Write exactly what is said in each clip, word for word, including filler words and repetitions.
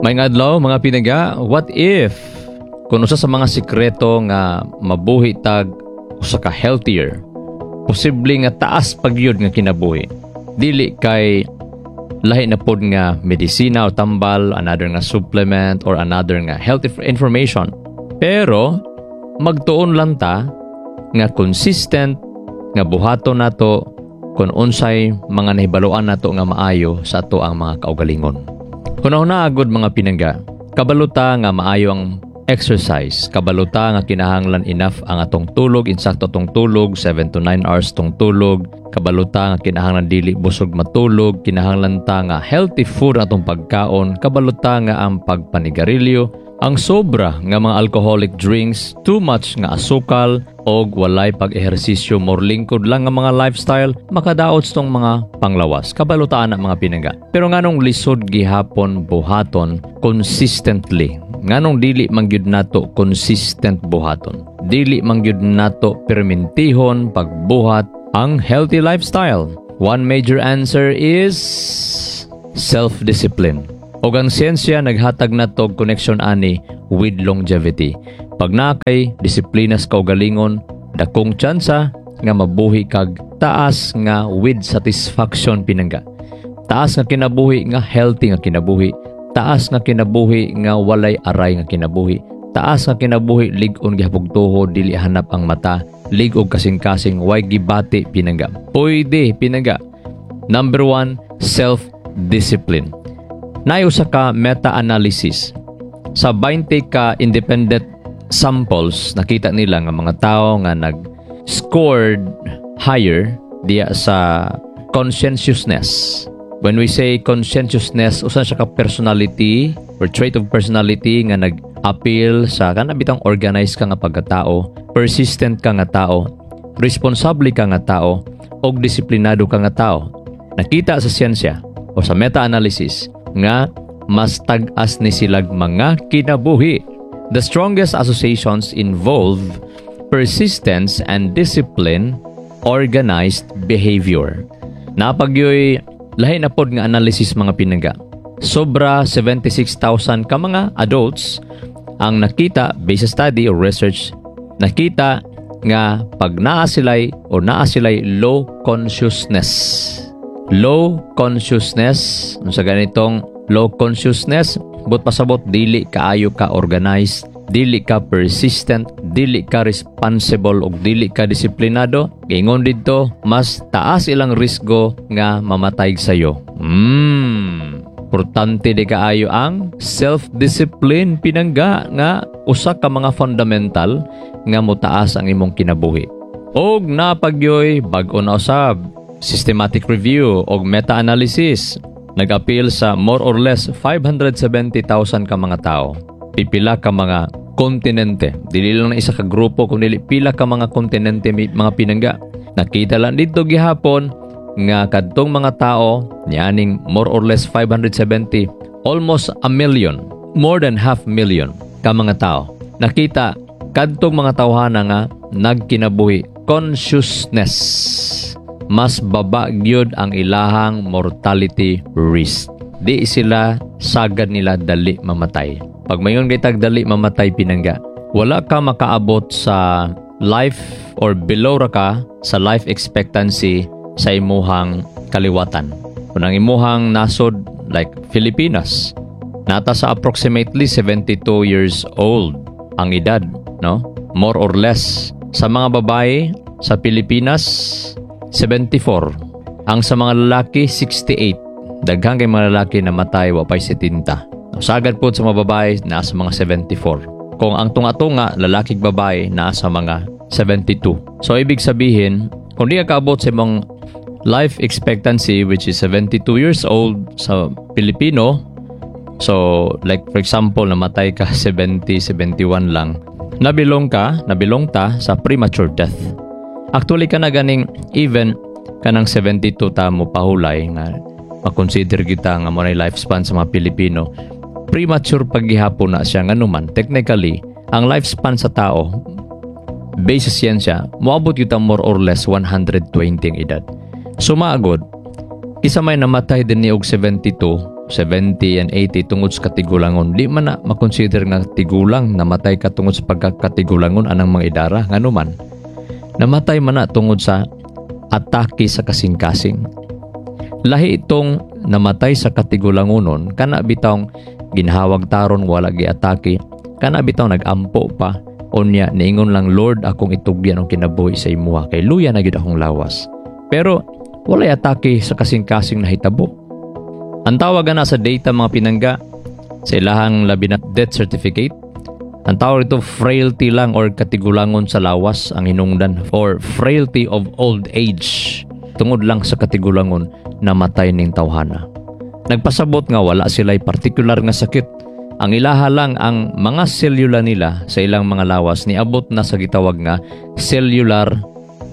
Maayong adlaw, mga pinangga, what if kung usa sa mga sikreto nga mabuhi tag usa ka healthier, posible nga taas pagyud nga kinabuhi. Dili kay lahi na pod nga medisina o tambal, another nga supplement or another nga health information. Pero magtuon lang ta nga consistent nga buhaton nato kung unsay mga nahibaluan nato nga maayo sa ato ang mga kaugalingon. Kuna agod, mga pinangga, kabalo ta nga maayo ang exercise, kabalo ta nga kinahanglan enough ang atong tulog, insakto atong tulog, seven to nine hours tong tulog, kabalo ta nga kinahanglan dili busog matulog, kinahanglan ta nga healthy food ang atong pagkaon, kabalo ta nga ang pagpanigarilyo, ang sobra nga mga alcoholic drinks, too much nga asukal, og walay pag-ehersisyo, more lingkod lang nga mga lifestyle, makadaot sa tong mga panglawas. Kabalo ta ana, mga pinangga. Pero nganong lisod gihapon buhaton consistently? Nganong dili man gyud nato consistent buhaton? Dili man gyud nato permintihon pagbuhat ang healthy lifestyle? One major answer is self-discipline. Og ang siyensya naghatag nato og connection ani with longevity. Pag naa kay disiplina sa kaugalingon, dakong tsansa nga mabuhi kag taas nga with satisfaction, pinangga. Taas nga kinabuhi nga healthy nga kinabuhi, taas nga kinabuhi nga walay aray nga kinabuhi, taas nga kinabuhi lig-on gihapog tuhod, dili hanap ang mata, lig-og kasing-kasing, way gibati, pinangga. Pwede, pinangga. Number one, self-discipline. Naay usa ka meta-analysis. Sa twenty ka independent samples, nakita nila nga mga tao nga nag-scored higher diya sa conscientiousness. When we say conscientiousness, usa siya ka personality or trait of personality nga nag-appeal sa kana bitang organized ka nga pagkatao, persistent ka nga tao, responsable ka nga tao, og disiplinado ka nga tao. Nakita sa siyensya o sa meta-analysis nga mas tag-as ni silag mga kinabuhi. The strongest associations involve persistence and discipline, organized behavior. Naa pa gyoy lahi na pod nga analysis, mga pinangga. Sobra seventy-six thousand ka mga adults ang nakita based sa study or research, nakita nga pag naa sila'y o naa sila'y low consciousness. Low consciousness, sa ganitong low consciousness, but pasabot dili kaayo ka organized, dili ka persistent, dili ka responsible ug dili ka disiplinado, giingon didto mas taas ilang risgo nga mamatay sayo. Mm. Importante di kaayo ang self-discipline, pinangga, nga usa ka mga fundamental nga motaas ang imong kinabuhi. Og naa pa gyoy bag-o na usab, systematic review og meta-analysis nag-appeal sa more or less five hundred seventy thousand ka mga tao. Pipila ka mga kontinente. Dili lang na isa ka grupo kundi pila ka mga kontinente, mga pinangga. Nakita lang dito gihapon nga kadtong mga tao nianing more or less five hundred seventy, almost a million, more than half million ka mga tao. Nakita kadtong mga tawhana nga nagkinabuhi consciousness, mas baba gyud ang ilahang mortality risk. Di sila sagad nila dali mamatay. Pag mayon kay tag dali mamatay, pinangga, wala ka makaabot sa life or below ra ka sa life expectancy sa imuhang kaliwatan. Kung ang imuhang nasod like Filipinas, naa ta sa approximately seventy-two years old ang edad, no? More or less. Sa mga babae sa Pilipinas, seventy-four. Ang sa mga lalaki, sixty-eight. Daghan kay mga lalaki na matay wa pay seventy. Sagad po sa mga babae, nasa mga seventy-four. Kung ang tunga-tunga, lalaki ug babae, nasa mga seventy-two. So ibig sabihin, kung di ka kaabot sa imong life expectancy, which is seventy-two years old sa Pilipino, so like for example, namatay ka seventy, seventy-one lang, nabilong ka, nabilong ta sa premature death. Actually, kana ganing even kanang seventy-two ta mo pahulay nga makonsider kita nga mo na lifespan sa mga Pilipino. Premature paggihapon na siya, nganuman technically ang lifespan sa tao based sa siyensya moabot kita more or less one hundred twenty ang edad. Sumagod, kisa may namatay din ni og seventy-two seventy and eighty tungod sa katigulangon. Di man na makonsider nga tigulang, namatay ka tungod sa pagkakatigulangon anang mga idara. Ngano man? Namatay man na tungod sa atake sa kasing-kasing. Lahi itong namatay sa katigulangonon, kana bitawng ginhawag taron, wala giatake, kana bitaw nagampo pa, unya niingon lang, "Lord, akong itugyan ang kinabuhi sa imuha kay luya na gyud akong lawas." Pero walay atake sa kasing-kasing nahitabo. Ang tawag na sa data, mga pinangga, sa ilahang labi na death certificate, ang tawag ito frailty lang or katigulangon sa lawas ang hinungdan or frailty of old age. Tungod lang sa katigulangon, namatay ning tawhana. Nagpasabot nga wala sila'y partikular nga sakit. Ang ilaha lang, ang mga selula nila sa ilang mga lawas niabot na sa gitawag nga cellular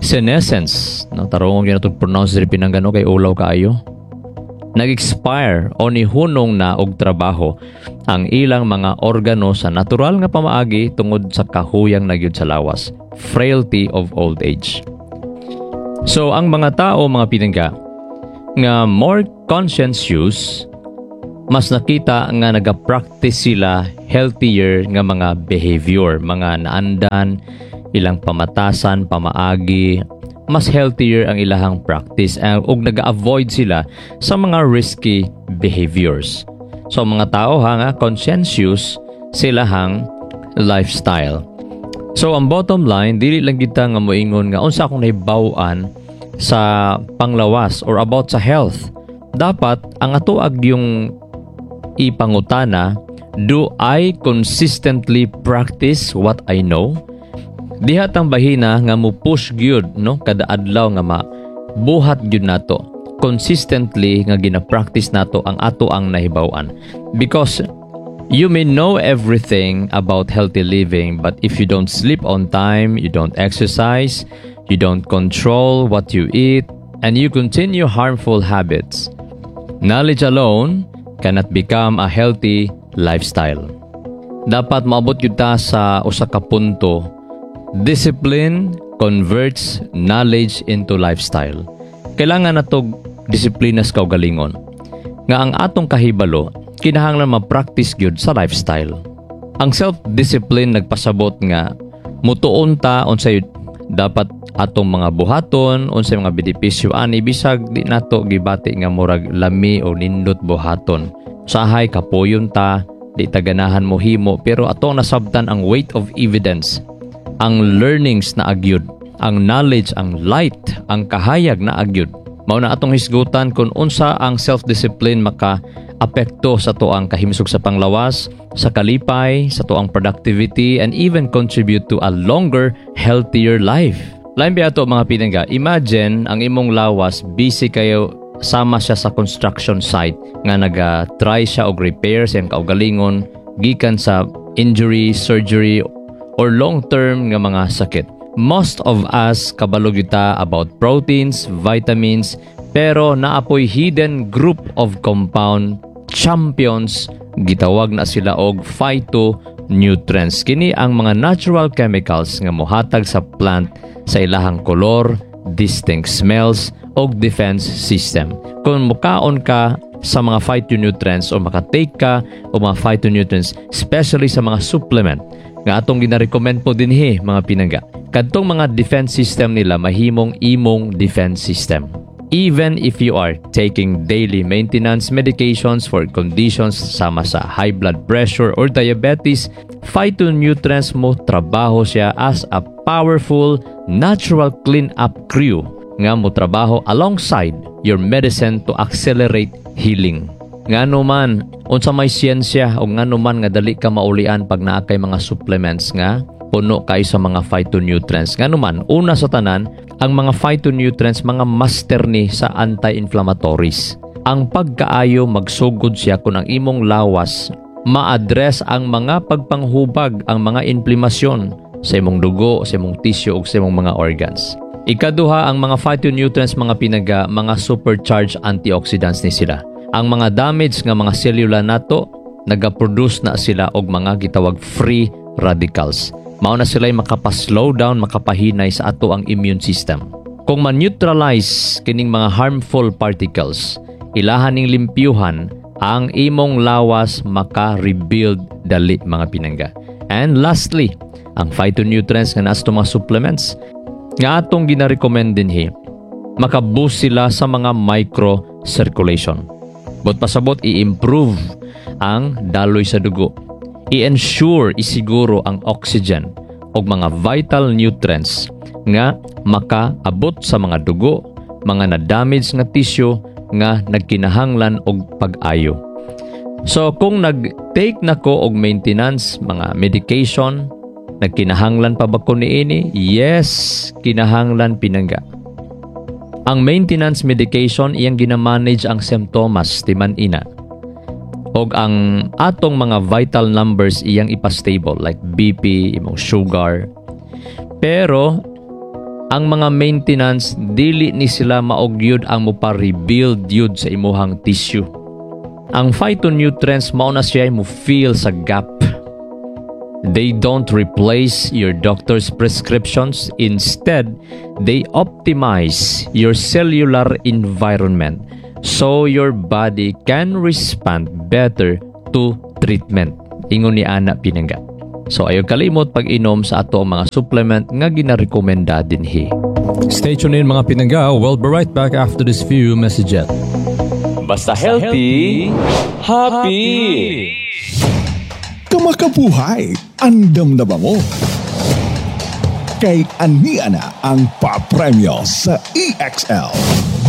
senescence. No, tarungon gyud nato pronounce diri, pinangga, no, kay ulaw kaayo. Nag-expire o nihunong na og trabaho ang ilang mga organo sa natural nga pamaagi tungod sa kahuyang na gyud sa lawas. Frailty of old age. So ang mga tao, mga pinangga, nga more conscientious, mas nakita nga naga-practice sila healthier nga mga behavior, mga naandan, ilang pamatasan, pamaagi, mas healthier ang ilahang practice uh, ug naga-avoid sila sa mga risky behaviors. So ang mga tao ha nga conscientious sila hang lifestyle. So ang bottom line, dili lang kita nga moingon nga unsa akong nahibaw-an sa panglawas or about sa health. Dapat ang ato yung ipangutana, do I consistently practice what I know? Diha tang bahina nga mo push gyud, no, kada adlaw nga ma buhat gyud nato consistently nga gina-practice nato ang ato ang nahibaw-an, because you may know everything about healthy living, but if you don't sleep on time, you don't exercise, you don't control what you eat, and you continue harmful habits, knowledge alone cannot become a healthy lifestyle. Dapat maabot gyud ta sa usa ka punto, discipline converts knowledge into lifestyle. Kailangan nato disiplina sa kaugalingon. Nga ang atong kahibalo, kinahanglan ma-practice gyud sa lifestyle. Ang self-discipline nagpasabot nga mutuon ta unsay dapat atong mga buhaton, unsay mga benepisyo ani bisag di nato gibati nga murag lami o nindot buhaton. Usahay kapoyon ta, di ta ganahan mo himo, pero atong nasabtan ang weight of evidence, ang learnings na agyud, ang knowledge, ang light, ang kahayag na agyud. Mao na atong hisgutan kung unsa ang self-discipline maka apekto sa tuang kahimsog sa panglawas, sa kalipay, sa tuang productivity, and even contribute to a longer, healthier life. Lain biya ato, mga pinangga, imagine ang imong lawas busy kayo sama siya sa construction site nga naga-try siya og repair sa iyang kaugalingon gikan sa injury, surgery, or long-term nga mga sakit. Most of us kabalo gyud ta about proteins, vitamins, pero naapoy hidden group of compound champions, gitawag na sila og phytonutrients. Kini ang mga natural chemicals nga mohatag sa plant sa ilahang kolor, distinct smells, og defense system. Kung mukaon ka sa mga phytonutrients o makatake ka o mga phytonutrients, especially sa mga supplement nga atong gina-recommend po dinhi, mga pinangga. Kadtong mga defense system nila mahimong imong defense system. Even if you are taking daily maintenance medications for conditions sama sa high blood pressure or diabetes, phytonutrients mo trabaho siya as a powerful natural clean-up crew nga mo trabaho alongside your medicine to accelerate healing. Ngano man, unsa may siyensya o ngano man nga dali ka maulian pag naa kay mga supplements nga puno kay sa mga phytonutrients? Ngano man, una sa tanan, ang mga phytonutrients mga master ni sa anti-inflammatories. Ang pagkaayo magsugod siya kung ang imong lawas ma-address ang mga pagpanghubag, ang mga inflamasyon sa imong dugo, sa imong tissue ug sa imong mga organs. Ikaduha, ang mga phytonutrients, mga pinangga, mga supercharged antioxidants ni sila. Ang mga damage nga mga selula nato, nagaproduce na sila og mga gitawag free radicals. Mao na sila makapa-slow down, makapahinay sa ato ang immune system. Kung ma-neutralize kining mga harmful particles, ilahan ning limpyuhan Ang imong lawas maka-rebuild dali mga pinangga. And lastly, ang phytonutrients nga naa sa mga supplements nga atong gina-recommend dinhi maka-boost sila sa mga micro-circulation. But pasabot i-improve ang daloy sa dugo. I-ensure isiguro ang oxygen og mga vital nutrients nga makaabot sa mga dugo, mga na-damage nga tissue nga nagkinahanglan og pag-ayo. So kung nag-take na ko og maintenance, mga medication, nagkinahanglan pa ba ko niini? Yes, kinahanglan pinangga. Ang maintenance medication iyang gina-manage ang simptomas timan ina. Og ang atong mga vital numbers iyang ipa-stable like BP, imong sugar. Pero ang mga maintenance dili ni sila mao gyud ang mopa-rebuild yun sa imuhang tissue. Ang phytonutrients mao na siya mo fill sa gap. They don't replace your doctor's prescriptions. Instead, they optimize your cellular environment so your body can respond better to treatment. Ingon ni ana pinangga. So ayaw kalimot pag-inom sa ato ang mga supplement nga ginarekomenda dinhi. Stay tuned in mga pinangga. We'll be right back after this few messages. Basta healthy, happy. Kamakabuhay, andam na ba mo? Kay ania na ang papremyo sa EXL.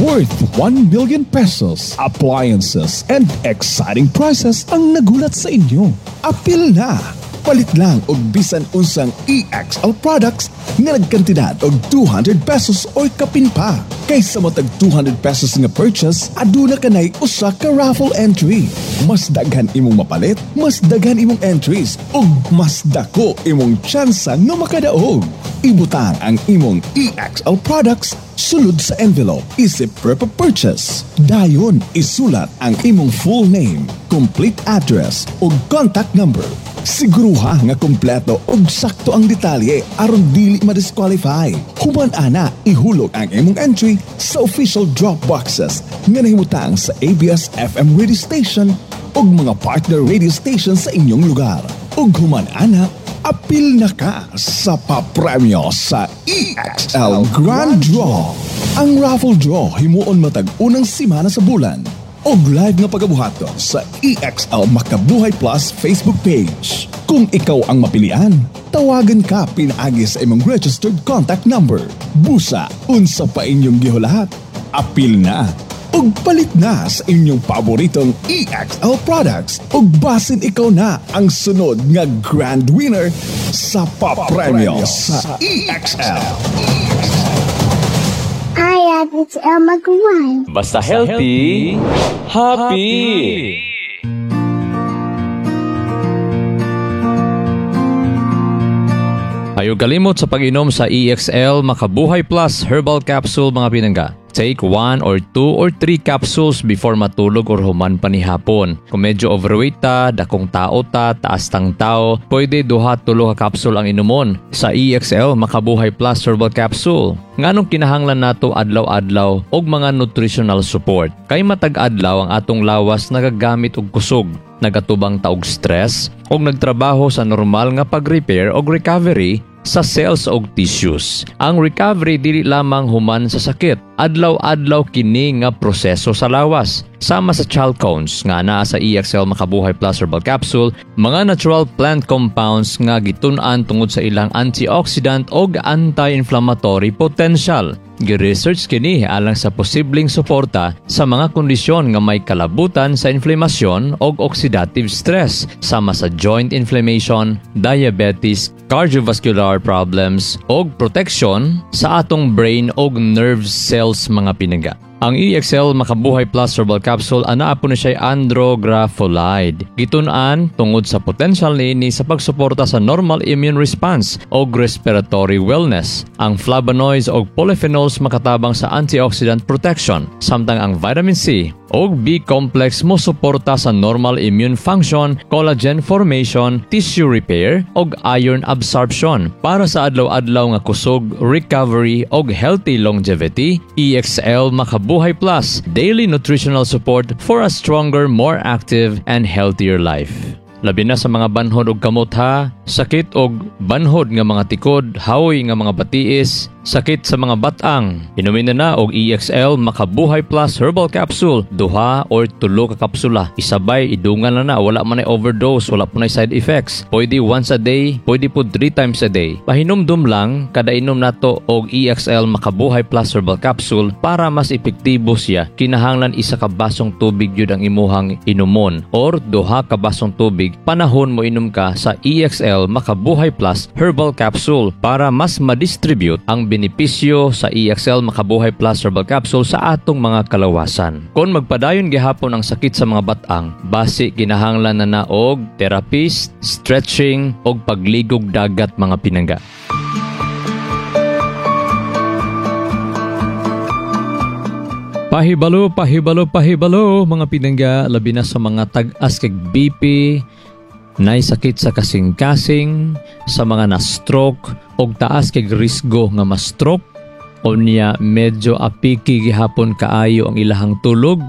Worth one million pesos, appliances, and exciting prizes ang nagulat sa inyo. Apil na! Palit lang og bisan unsang EXL products nga nagkantidad og two hundred pesos or kapin pa. Kaysa matag two hundred pesos nga purchase, aduna kanay usa ka raffle entry. Mas daghan imong mapalit, mas daghan imong entries, ug mas dako imong tsansa nga makadaog. Ibutang ang imong EXL products sulod sa envelope isip proof of purchase. Dayon isulat ang imong full name, complete address ug contact number. Siguruha nga kompleto ug sakto ang detalye aron dili ma-disqualify. Human ana, ihulog ang imong entry sa official drop boxes nga nahimutang sa ABS FM radio station ug mga partner radio station sa inyong lugar. Ug human ana, apil na ka sa papremyo sa EXL Grand Draw. Ang raffle draw himuon matag unang simana sa bulan og live nga pagabuhaton sa EXL Makabuhay Plus Facebook page. Kung ikaw ang mapilian, tawagan ka pinaagi sa imong registered contact number. Busa, unsa pa inyong gihulat? Apil na ug palit na sa inyong paboritong EXL products ug basin ikaw na ang sunod nga grand winner sa papremyo sa EXL. Hi, it's Elma Guan. Basta healthy, happy. Ayaw kalimot sa pag-inom sa EXL Makabuhay Plus Herbal Capsule mga pinangga. Take one or two or three capsules before matulog or human panihapon. Kung medyo overweight ta, dakong tao ta, taas tang tao, pwede duha tulo ka capsule ang inumon sa EXL Makabuhay Plus Herbal Capsule. Nganong kinahanglan nato adlaw-adlaw og mga nutritional support? Kay matag adlaw ang atong lawas nagagamit og kusog, nagatubang ta og stress, og nagtrabaho sa normal nga pag-repair og recovery sa cells og tissues. Ang recovery dili lamang human sa sakit. Adlaw-adlaw kini nga proseso sa lawas. Sama sa chalcones nga naa sa EXL Makabuhay Plus Herbal Capsule, mga natural plant compounds nga gitun-an tungod sa ilang antioxidant og anti-inflammatory potential. Gi-research kini alang sa posibleng suporta sa mga kondisyon nga may kalabutan sa inflamasyon og oxidative stress sama sa joint inflammation, diabetes, cardiovascular problems og protection sa atong brain og nerve cells mga pinangga. Ang EXL Makabuhay Plus Herbal Capsule anaa po ni siya andrographolide. Gitun-an tungod sa potential niini sa pagsuporta sa normal immune response og respiratory wellness. Ang flavonoids og polyphenols makatabang sa antioxidant protection, samtang ang vitamin C og B complex mo suporta sa normal immune function, collagen formation, tissue repair og iron absorption. Para sa adlaw-adlaw nga kusog, recovery og healthy longevity, EXL Makabuhay Makabuhay Plus, daily nutritional support for a stronger, more active, and healthier life. Labi na sa mga banhod og kamot ha, sakit og banhod nga mga tikod, haoy nga mga batiis, sakit sa mga batang. Inumin na na og E X L Makabuhay Plus Herbal Capsule, duha or tulo ka kapsula. Isabay idungan na na, wala man ay overdose, wala po na side effects. Pwede once a day, pwede po three times a day. Pahinumdum lang, kada inom nato og E X L Makabuhay Plus Herbal Capsule, para mas epektibo siya, kinahanglan isa ka basong tubig yun ang imuhang inumon or duha ka basong tubig panahon mo inom ka sa E X L Makabuhay Plus Herbal Capsule para mas madistribute ang benepisyo sa E X L Makabuhay Plus Herbal Capsule sa atong mga kalawasan. Kung magpadayon gihapon ang sakit sa mga batang, basi kinahanglan na na og therapist, stretching og pagligog dagat, mga pinangga. Pahibalo, pahibalo, pahibalo, mga pinangga, labi na sa mga tag-as kag B P, nay sakit sa kasing-kasing, sa mga na-stroke, og taas kag risgo nga ma-stroke, unya medyo apiki gihapon kaayo ang ilahang tulog,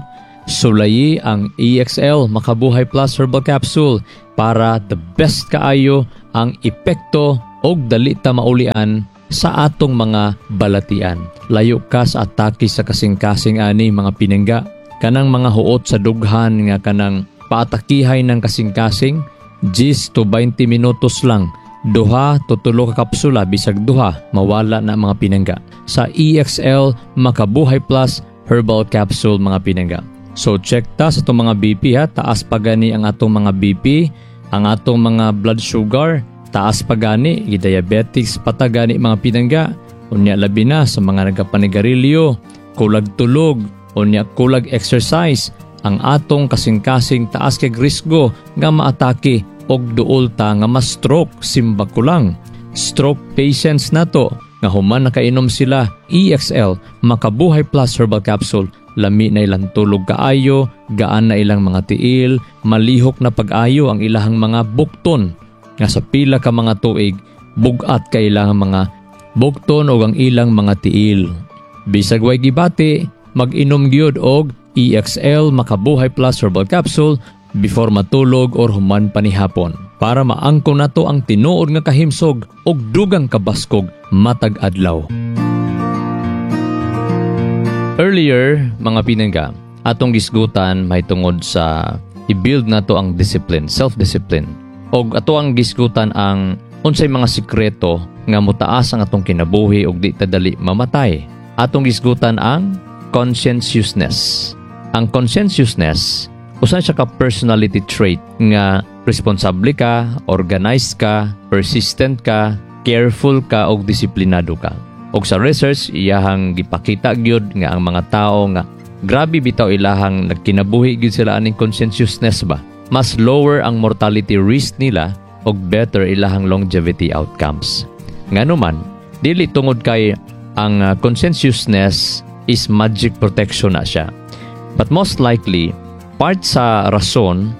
sulayi ang E X L Makabuhay Plus Herbal Capsule para the best kaayo ang epekto og dali ta maulian sa atong mga balatian. Layo ka sa atake sa kasing-kasing ani, mga pinangga. Kanang mga huot sa dughan nga kanang paatakihay ng kasing-kasing, ten to twenty minutos lang. Duha to tulo ka kapsula, bisag duha, mawala na, mga pinangga, sa E X L Makabuhay Plus Herbal Capsule, mga pinangga. So check ta sa atong mga B P ha, taas pa gani ang atong mga B P, ang atong mga blood sugar, taas pa gani, diabetics pa ta gani, mga pinangga. Unya labi na sa mga nagapanigarilyo, kulag tulog, unya kulag exercise, ang atong kasing-kasing taas kay risgo nga maatake og duol ta nga ma-stroke, simba ko lang. Stroke patients nato nga human nakainom sila E X L Makabuhay Plus Herbal Capsule, lami na ilang tulog kaayo, gaan na ilang mga tiil, malihok na pag-ayo ang ilahang mga bukton nga sa pila ka mga tuig bugat kay ilang mga bukton og ang ilang mga tiil. Bisag way gibati, mag-inom gyud og E X L Makabuhay Plus Herbal Capsule before matulog or human panihapon para maangko nato ang tinuod nga kahimsog og dugang kabaskog matag adlaw. Earlier, mga pinangga, atong gisgutan may tungod sa i-build nato ang discipline, self-discipline. Og ato ang gisgutan ang unsay mga sikreto nga motaas ang atong kinabuhi og di ta dali mamatay. Atong gisgutan ang conscientiousness. Ang conscientiousness, usa siya ka personality trait nga responsable ka, organized ka, persistent ka, careful ka og disiplinado ka. Og sa research, iyahang gipakita gyud nga ang mga tao nga grabe bitaw ilahang nagkinabuhi gyud sila aning conscientiousness ba, mas lower ang mortality risk nila og better ilahang longevity outcomes. Ngano man, dili tungod kay ang uh, conscientiousness is magic protection na siya. But most likely, part sa rason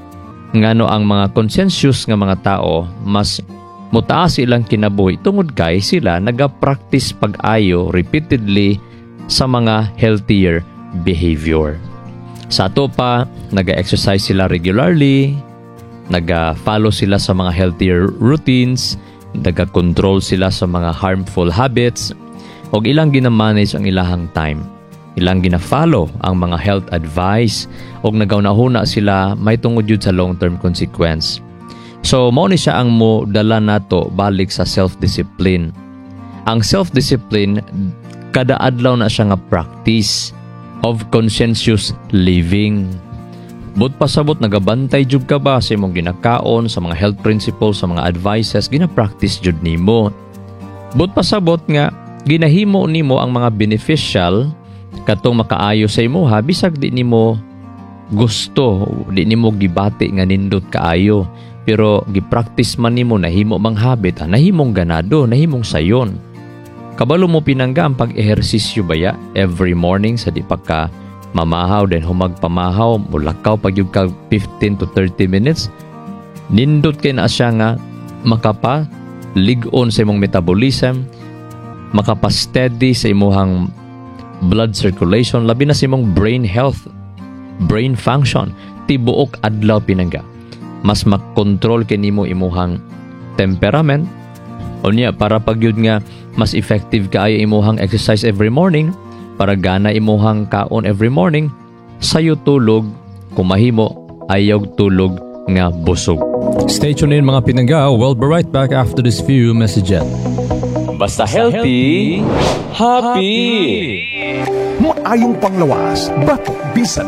ngano ang mga conscientious nga mga tao mas mutaas ilang kinabuhi tungod kay sila naga-practice pag-ayo repeatedly sa mga healthier behavior. Sa ato pa, naga-exercise sila regularly, naga-follow sila sa mga healthier routines, naga-control sila sa mga harmful habits, og ilang gina-manage ang ilahang time. Ilang gina-follow ang mga health advice og nagaunahuna sila may tungod yun sa long-term consequence. So, mao ni siya ang mo dala nato balik sa self-discipline. Ang self-discipline, kada adlaw na siya nga practice of conscientious living. But pasabot nagabantay jud ka ba sa imong ginakaon, sa mga health principles, sa mga advices, gina-practice jud nimo. But pasabot nga ginahimo nimo ang mga beneficial katong makaayo sa imuha bisag di nimo gusto, di nimo gibati nga nindot kaayo. Pero gi-practice man nimo, nahimo mang habit, ah, nahimong ganado, nahimong sayon. Kabalo mo, pinangga, ang pag-ehersisyo baya every morning sa di pa ka mamahaw, then humag pamahaw, mulakaw pag yung ka fifteen to thirty minutes, nindot kay na siya nga makapa lig-on sa imong metabolism, makapa-steady sa imuhang blood circulation, labi na sa imong brain health, brain function, tibuok adlaw, pinangga. Mas makontrol kinimo imuhang temperament. Unya para pagyud nga mas effective kaayo imuhang exercise every morning, para gana imuhang kaon every morning, sayo tulog, kumahimo ayaw tulog nga busog. Stay tuned in, mga pinangga. We'll be right back after this few messages. Basta healthy, happy. Maayong panglawas, batok bisan.